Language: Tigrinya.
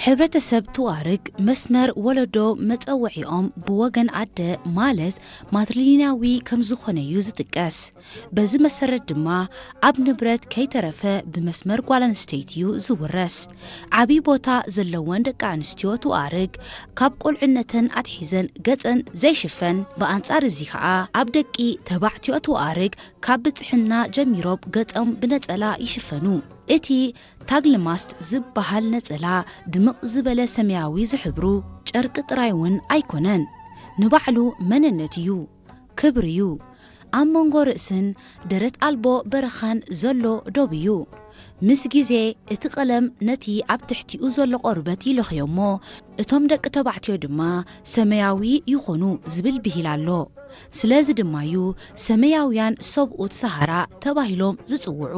ሕብረተሰብ ቱዋርግ መስመር ወለዶ መጸውዒኦም ብወገን ኣደ ማለት ማትሪሊናዊ ከም ዝኾነ እዩ ዝጥቀስ። በዚ መሰረት ድማ ኣብ ንብረት ከይተረፈ ብመስመር ጓል ኣንስተይቲ እዩ ዝውረስ። ዓብዪ ቦታ ዘለወን ደቂ ኣንስትዮ ቱዋርግ ካብ ቁልዕነተን ኣትሒዘን ገጸን ዘይሽፈን፣ ብኣንጻር እዚ ኸኣ ኣብ ደቂ ተባዕትዮ ቱዋርግ ካብ ብጽሕና ጀሚሮም ገጾም ብነጸላ ይሽፈኑ። እቲ ታግልማስት ዝበሃል ነጸላ ድምቕ ዝበለ ሰማያዊ ዝሕብሩ ጨርቂ ጥራይ እውን ኣይኮነን። ንባዕሉ መንነት እዩ፣ ክብሪ እዩ። ኣብ መንጎ ርእስን ደረት ኣልቦ በረኻን ዘሎ ዶብ እዩ። ምስ ግዜ እቲ ቀለም ነቲ ኣብ ትሕቲኡ ዘሎ ቆርበት ይለኽዮ እሞ እቶም ደቂ ተባዕትዮ ድማ ሰማያዊ ይኾኑ ዝብል ብሂል ኣሎ። ስለዚ ድማ እዩ ሰማያውያን ሰብኡት ሰሃራ ተባሂሎም ዝጽውዑ።